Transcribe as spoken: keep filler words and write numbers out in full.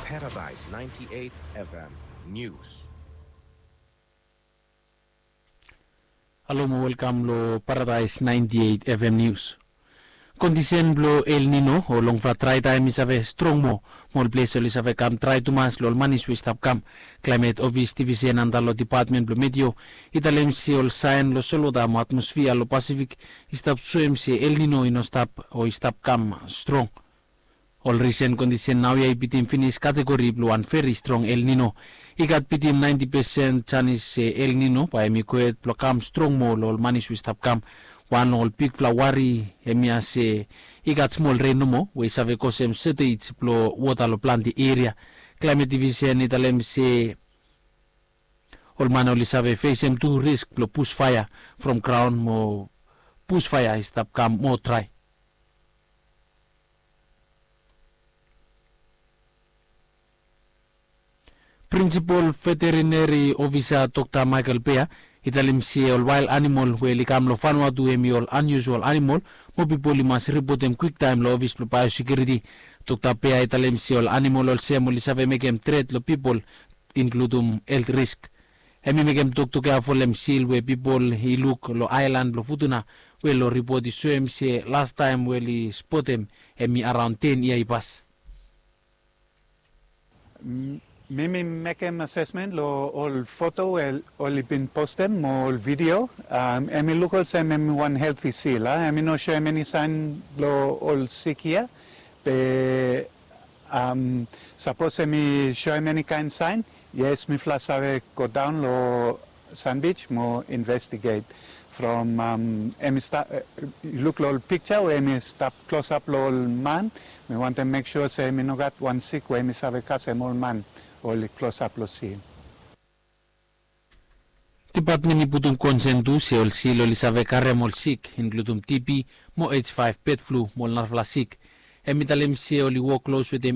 Paradise ninety-eight F M News. Halo mo welkam lo Paradise ninety-eight F M News. Kondisen blo El Nino o longfala draetaem i save strong moa mo ol ples oli save kam drae tumas lo ol manis we i stap kam. Klaemet Ofis Divisen antap lo Depatmen blo Meteo i talem se ol saen lo solwota mo atmosfia lo Pasifik i stap soem se El Nino i no stap o i stap kam strong. Ol risen kondisen naoia i bitim finis kategori blo wan veri strong El Nino. I gat bitim naenti pesen janis se El Nino bae hemi gohed blo kam strong moa lo ol manis we i stap kam. Wan lo ol bigfala wari hemia se i gat smol ren nomo we i save kosem sotej blo wota lo plante eria. Klaemet Divisen i talem se ol man oli save fesem tu risk blo busfaea from graon mo busfaea i stap kam moa drae. Prinsipol Veterineri Ofisa Dokta Michael Bea i talem se ol wael animol we oli kam lo Vanuatu hemi ol aniusual animol mo pipol i mas ripotem kwiktaem lo ofis blo baeosekiuriti. Dokta Bea i talem se ol animol olsem oli save mekem tret lo pipol, inkludum helt risk. Hemi mekem toktok ya folem sil we pipol i luk lo aelan blo Futuna we lo ripot i soem se lastaem we oli spotem hemi araon ten yia i pas. Mi mi mekem asesmen lo ol foto we oli bin postem mo ol video. Hemi luk olsem hemi wan helti sil a, hemi no soem eni saen blo ol sik hia. Be sapos hemi soem eni kaen saen, yes, mifala save godaon lo Sandbij mo investiget. From hemi stap, luk lo ol pikja we hemi stap klosap lo ol man, mi wantem mek sua se hemi no gat wan sik we hemi save kasem ol man oli klosap lo sil. Depatmen i putum konsen tu se ol sil oli save karem ol sik, inkludum T B mo H five bird flu mo ol narafala sik. Hemi talem se oli wok klos wetem